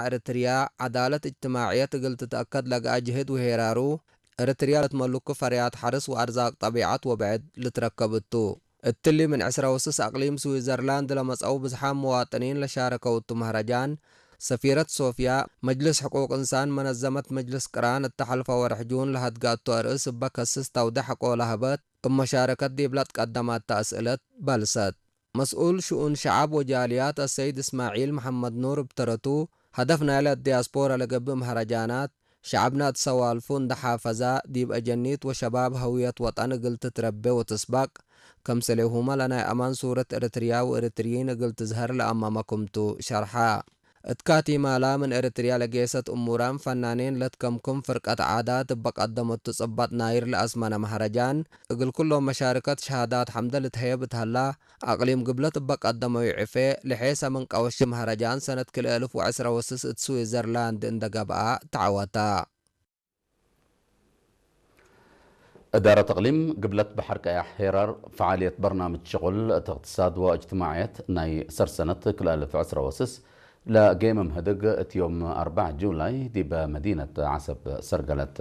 እርትርያ ዓዳለት እጅትማዕየት እግል ትትአከድ ለገአ ጅህድ ወሄራሩ፣ እርትርያ ለትመልኩ ፈርያት ሐርስ ወአርዛቅ ጠቢዓት ወብዕድ ልትረከብ እቱ። እትሊ ምን ዕስራ ወስስ አቅሊም ስዊዘርላንድ ለመጽአው ብዝሓም መዋጥኒን ለሻረከው እቱ መህረጃን፣ ሰፊረት ሶፍያ፣ መጅልስ ሕቁቅ እንሳን መነዘመት መጅልስ ቅራን እተ ሐልፈ ወርሕ ጁን ለሀድጋቱ አርእስ እበ ከስስ ተውደ ሐቆ ለሀበት፣ እብ መሻረከት ዲብ ለትቀደማት ተአስእለት በልሰት። መስኡል ሽኡን ሸዐብ ወጃልያት አሰይድ እስማዒል መሐመድ ኑር እብ ተረቱ፣ ሀደፍ ናይለ ዲያስፖራ ለገብእ መህረጃናት፣ ሸዐብና እት ሰዋልፉ እንደ ሓፈዛ፣ ዲብ አጀኒት ወሸባብ ሀውየት ወጠን እግል ትትረቤ ወትስባቅ፣ ከምሰሌሁመ ለናይ አማን ሱረት ኤረትርያ ወኤረትርዪን እግል ትዝሀር ለአመመ ክምቱ ሸርሐ። እት ካቲማላ ምን ኤረትርያ ለጌሰት እሙራን ፈናኔን ለትከምክም ፍርቀት ዓዳት እበ ቀደመቱ ጽባጥ ናይር ለአስመነ መህረጃን፣ እግል ኩሎም መሻርከት ሸሃዳት ሐምደ ልትሀየብ እት ሀላ፣ አቅሊም ግብለት እበ ቀደመዩ ዕፌ፣ ለሔሰ ምን ቀወሺ መህረጃን ሰነት ክልኤ እልፍ ወዕስራ ወስስ እት ስዊዘርላንድ እንደ ገብአ ተዐወተ። እዳረት እቅሊም ግብለት በሐር ቀያሕ ሄራር ፈዓልየት በርናምጅ ሽቁል እት እቅትሳድ ወእጅትማዕየት ናይ ሰርሰነት ክልኤ እልፍ ዕስራ ወስስ ለጌመ ምህድግ እት ዮም አርባዕ ጁላይ ዲበ መዲነት ዐሰብ ሰርገለት።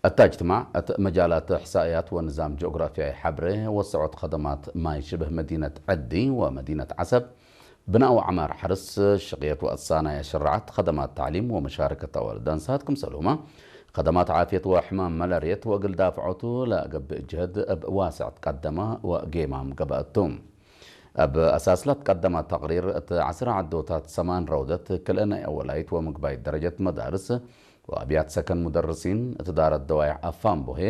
እታ እጅትማዕ እት መጃላት እሕሳእያት ወንዛም ጂኦግራፊያዊ ሐብሬ ወሰዖት ከደማት ማይ ሽብህ መዲነት ዐዲ ወመዲነት ዐሰብ ብናእ ወዐማር ሐርስ፣ ሽቅየት ወአሳናይ አሸራዓት፣ ከደማት ተዕሊም ወመሻረከት አዋልድ አንሳት ክምሰልሁመ፣ ከደማት ዓፍየት ወሕማም መለርየት ወእግል ዳፍዖቱ ለገብእ ጅህድ እብ ዋስዕ ትቀደመ ወጌማም ገበአቱ። እብ አሳስ ለትቀደመ ተቅሪር፣ እት ዐስር ዐዶታት ሰማን ረውደት ክልኤ ናይ አወላይት ወምግባይት ደረጀት መዳርስ ወአብያት ሰከን ሙደርሲን፣ እት ዳረት ደዋይሕ አፋምቦሄ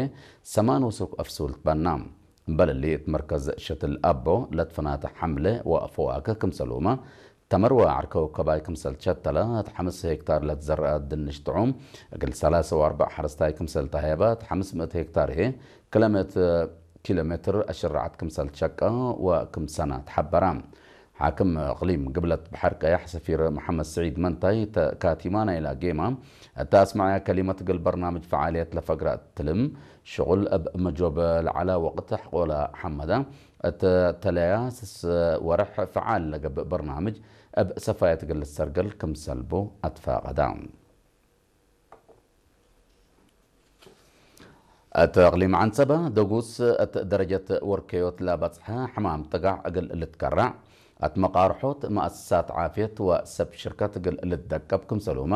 ሰማን ወሱክ አፍሱል ትበና። እምበል እሊ፣ እት መርከዝ ሸትል አቦ ለትፈናተ ሐምለ ወፈዋክህ ክምሰልሁመ፣ ተመር ወዐርከ ውከባይ ክምሰል ትሸተለ፣ እት ሐምስ ሄክታር ለትዘርአ ድንሽ ጥዑም እግል ሰላሰ ወአርበዕ ሐረስታይ ክምሰል ተሀየበ፣ እት ሐምስ ምእት ሄክታር ህዬ ክለ ምእት ኪሎ ሜትር አሽራዓት ክምሰል ትሸቀ ወክም ሰና ተሐበራ። ሓክም እቅሊም ግብለት በሐር ቀያሕ ሰፊር መሐመድ ስዒድ መንታይ፣ እተ ካቲማ ናይላ ጌማ እተ አስመዐያ ከሊመት፣ እግል በርናምጅ ፈዓልየት ለፈግረ እትልም ሽቁል እብ መጆብ ለዐለ ወቅት ሐቆለ ሐመደ፣ እተ ተለያ ስስ ወርሕ ፈዓል ለገብእ በርናምጅ እብ ሰፋየት እግል ልሰርገል ክምሰል ቡ አትፋቀዳ። እት እቅሊም ዐንሰበ ደጉስ እት ደረጀት ወርከዮት ለበጽሐ ሕማም ጥጋዕ እግል ልትከራዕ፣ እት መቃርሖት መአሰሳት ዓፍየት ወሰብ ሽርከት እግል ልትደቀብ ክምሰልሁመ፣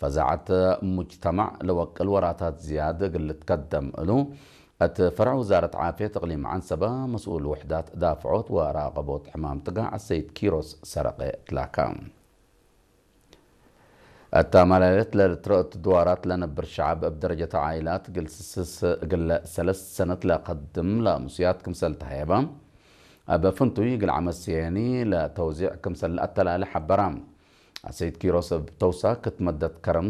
ፈዛዐት ሙጅተማዕ ለወቅል ወራታት ዝያድ እግል ልትከደም እሉ፣ እት ፈርዕ ውዛረት ዓፍየት እቅሊም ዐንሰበ መስኡል ውሕዳት ዳፍዖት ወራቀቦት ሕማም ጥጋዕ አሰይድ ኪሮስ ሰረቀ ትላካ። እታ መላሌት ለልትረአቱ ድዋራት ለነብር ሸዐብ እብ ደረጀት ዓኢላት እግል ስስስ እግለ ሰለስ ሰነት ለከድም ለአምሱያት ክምሰል ተሀየበ፣ እብ ፍንቱይ እግል ዐመት ስየኒ ለተውዚዕ ክምሰል ለአተላለ ሐበራ። አሰይድ ኪሮስ እብ ተውሳክ እት መደት ከረም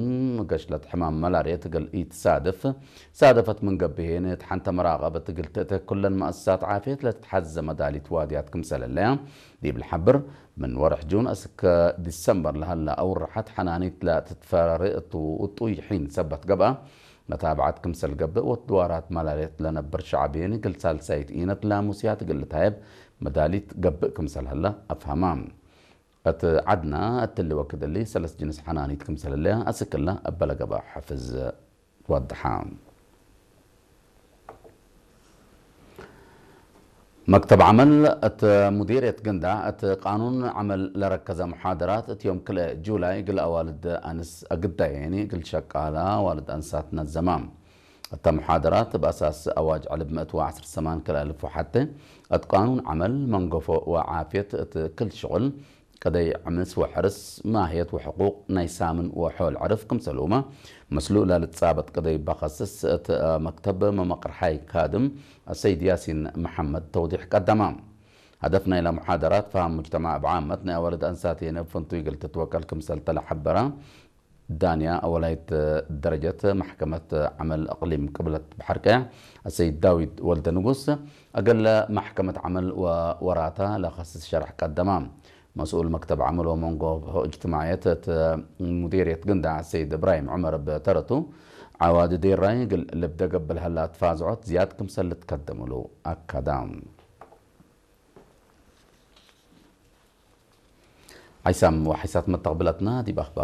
ገሽለት ሕማም መላርየት እግል ኢትሳድፍ፣ ሳደፈት ምን ገብእ ሄኒ እት ሐንተ መራቀበት እግል ትእተ ኩለን መአሰሳት ዓፍየት ለትትሐዘ መዳሊት ዋድያት ክምሰል ህለያ ዲብ ለሐብር፣ ምን ወርሕ ጁን እስከ ዲሰምበር ለሀላ አውርሐት ሐናኒት ለትትፈረሪ እቱ ውጡይ ሒን ሰበት ገብአ፣ መታብዐት ክምሰል ገብእ ወትድዋራት መላሌት ለነብር ሸዐብ ሄኒ እግል ሳልሳይት ኢነት ለአሙስያት እግል ልትሀየብ መዳሊት ገብእ ክምሰል ህለ አፍሀማ። እት ዐድና እትሊ ወክድ እሊ ሰለስ ጅንስ ሐናኒት ክምሰል ህለያ አስክላ እበ ለገብአ ሐፍዝ ወድሐ። መክተብ ዐመል እት ሙዲርየት ግንዳዕ እት ቃኑን ዐመል ለረከዘ መሓደራት እት ዮም ክልኤ ጁላይ እግል አዋልድ አንስ አግዳየኒ እግል ሸቃላ አዋልድ አንሳት ነዘማ። እተ መሓደራት እብ አሳስ አዋጅ ዕልብ ምእት ወዐስር ሰማን ክልኤ እልፍ ወሐቴ እት ቃኑን ዐመል መንገፎ ወዓፍየት እት ክል ሽቁል ቅደይ ዕምስ ወሐርስ፣ ማህየት ወሕቁቅ ናይ ሳምን ወሖል ዕርፍ ክምሰልሁመ፣ ምስሉ ለልትጻበጥ ቅደይ በኸስስ እት መክተብ መመቅርሓይ ካድም አሰይድ ያሲን መሐመድ ተውዲሕ ቀደማ። ሀደፍ ናይላ መሓደራት ፈሃም ሙጅተማዕ እብ ዓመት ናይ አዋልድ አንሳት የነ ፍንቱይ እግል ትትወቀል ክምሰል ተለሐበራ። ዳንያ አወላይት ደረጀት ማሕከመት ዐመል እቅሊም ቅብለት በሐር ቀያሕ አሰይድ ዳዊት ወልደ ንጉስ፣ እግል ማሕከመት ዐመል ወወራታ ለኸስስ ሸርሕ ቀደማ። መስኡል መክተብ ዐመል ወመንጎ እጅትማዕየት እት ሙዲርየት ግንዳዕ አሰይድ እብራሂም ዑመር እብ ተረቱ፣ ዐዋዲ ዴራይ እግል ልብደ ገብእ ለሀላ ትፋዝዖት ዝያድ ክምሰል ልትከደም እሉ አከዳ። ሓይሳም ወሓይሳት መተቕብለትና ዲብ ኣኽባር